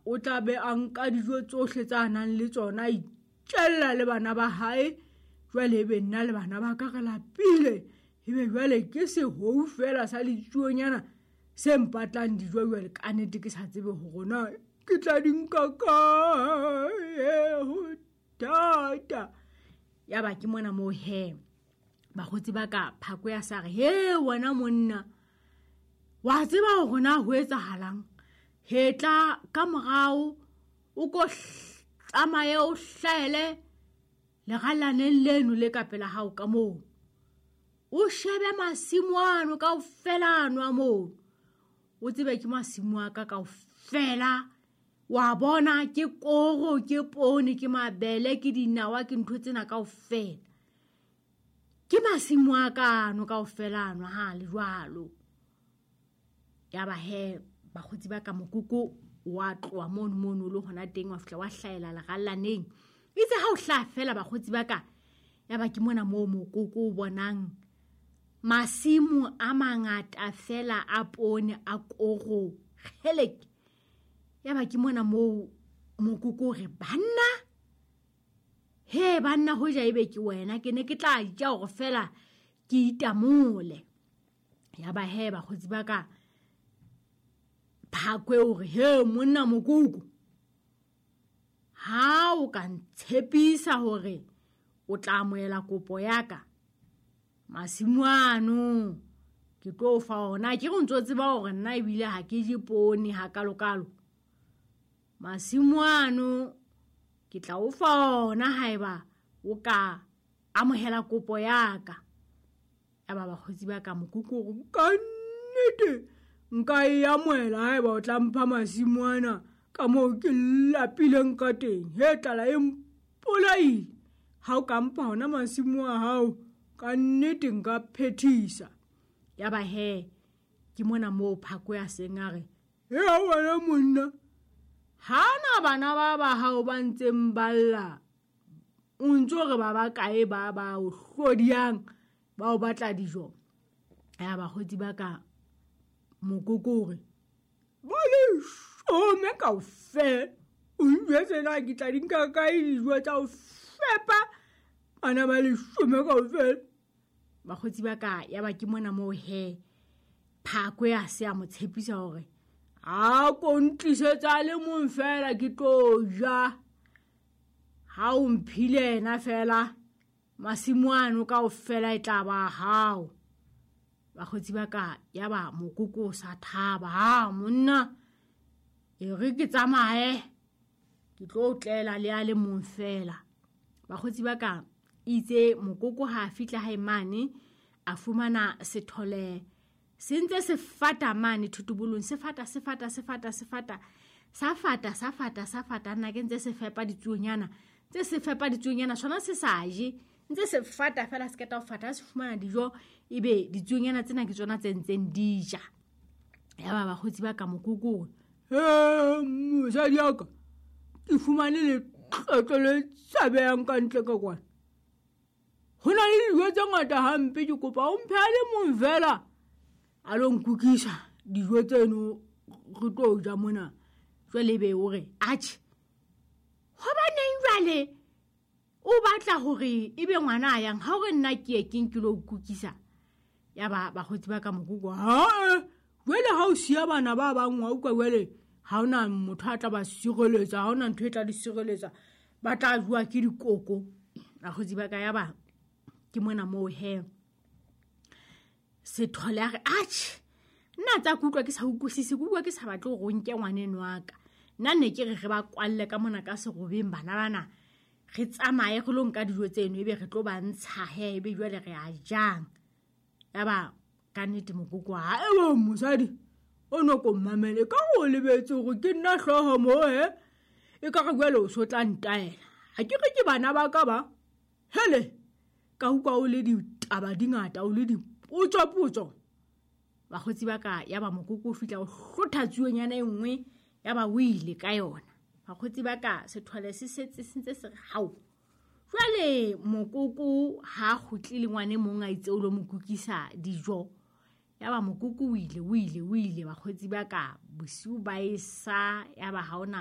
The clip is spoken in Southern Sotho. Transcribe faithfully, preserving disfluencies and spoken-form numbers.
o tla be a nka dijo tsohle tsa nang le tsona, a itjella le bana ba hae. Jwale ebe nna le bana ba ka re lapile, ebe jwale ke sehou fela sa letsuonyana se mpatlang dijo. Jwale ka nnete ke sa tsebe hore na ke tla di nka kae, ho thata. Ya ba ke mona moo he bakgotsi ba ka Phako ya sa re, he wena monna, wa tseba hore na ho etsahalang? He tla ka morao o ko tsamaye o hlahele lerallaneng leno le ka pela hao ka moo, o shebe masimo ano kaofela ano a moo, o tsebe ke masimo a ka kaofela. Wa bona ke koro, ke poone, ke mabele, ke dinawa, ke ntho tsena kaofela, ke masimo a ka ano kaofela ano ha le jwalo. Ya ba he bakgotsi ba ka mokoko wa tloha mono mono le hona teng, wa fihla wa hlahela lerallaneng. Itse ha o hlaha fela bakgotsi ba ka, ya ba ke mona moo mokoko o bonang masimo a mangata fela a poone, a koro, kgeleke. Ya ba ke mona moo mokoko o re, banna, he banna, hoja ebe ke wena ke ne ke tla ja hore fela ke itamole. Ya ba he bakgotsi ba ka Phakwe o re, he monna mokoko, ha o ka ntshepisa hore o tla amohela kopo ya ka, masimo ano ke tlo fa ona. Ke re o ntso tseba hore nna ebile ha ke je poone hakalokalo. Masimo ano ke tla o fa ona haeba o ka amohela kopo ya ka. Ya ba bakgotsi ba ka mokoko o re, ka nnete nka e amohela haeba o tla mpha masimo ana ka moo ke lapileng ka teng. He tlala e mpolaile, ha o ka mpha hona masimo a hao ka nnete nka phethisa. Ya ba he ke mona moo Phako ya seng a re, he wena monna, ha na bana ba ba hao ba ntseng ba lla, o ntso re ba ba kae ba ba o hlodiyang ba o batla dijo? Ya bakgotsi ba ka mokoko o re, ba leshome kaofela, o njwetse na ke tla di nka kae dijo tsa ho fepa bana ba leshome kaofela? Bakgotsi ba ka ya ba ke mona moo he Phako ya se a mo tshepisa hore a ko ntlisetsa le mong fela ke tlo ja, ha o mphile yena fela masimo ano kaofela e tla ba hao. Bakgotsi ba ka ya ba mokoko o sa thaba, ha monna e re ke tsamaye ke tlo tlela le a le mong fela. Bakgotsi ba ka itse mokoko ha a fihla hae mane a fumana sethole se ntse se fata mane thotobolong, se fata se fata se fata se fata sa fata sa fata sa fata, nna ke ntse se fepa ditsuonyana, ntse se fepa ditsuonyana sona se sa je, ntse se fata fela se keta ho fata, se fumana dijo ebe ditsuonyana tsena ke tsona tse ntseng di ja. Ya ba bakgotsi ba ka mokoko, he mosadi ya ka, ke fumane letlotlo le tshabehang ka ntle ka kwana, ho na le dijo tse ngata hampe, ke kopa o mphe a le mong fela a lo nkukisa dijo tseno re tlo ja mona. Jwale ebe o re, atjhe, hobaneng jwale o batla hore ebe ngwana a yang ha o re nna ke ye ke nke lo kukisa? Ya ba bakgotsi ba ka mokoko, ha jwale ha o siya bana ba bang wa utlwa jwale ha hona motho a tla ba sireletsa, ha hona ntho e tla di sireletsa, ba tla jowa ke dikoko. Bakgotsi ba ka ya ba ke mona moo he sethole a re, atjhe nna tsa kutlwa ke sa utlwisise, ke utlwa ke sa batle hore o nke ngwaneno wa ka. Nna ne ke re re ba kwalle ka mona ka serobeng bana bana, re tsamaye re lo nka dijo tseno ebe re tlo ba ntsha he, ebe jwale re a jang. Ya ba ka nnete mokoko ha ewe mosadi o no ko mmamele ka ho lebetse hore ke nna hlooho moo he, e ka re jwale o so tla ntaela, ha ke re ke bana ba ka ba hele ka utlwa o le ditaba di ngata, o le dipotsopotso. Bakgotsi ba ka ya ba mokoko o fihla o hlotha tsuonyana e nngwe ya ba o ile ka yona. Bakgotsi ba ka sethole se setse se ntse se re hao. Jwale mokoko ha kgutlile ngwane mong a itse o lo mo kukisa dijo, ya ba mokoko o ile o ile o ile. Bakgotsi ba ka bosiu ba e sa, ya ba ha ona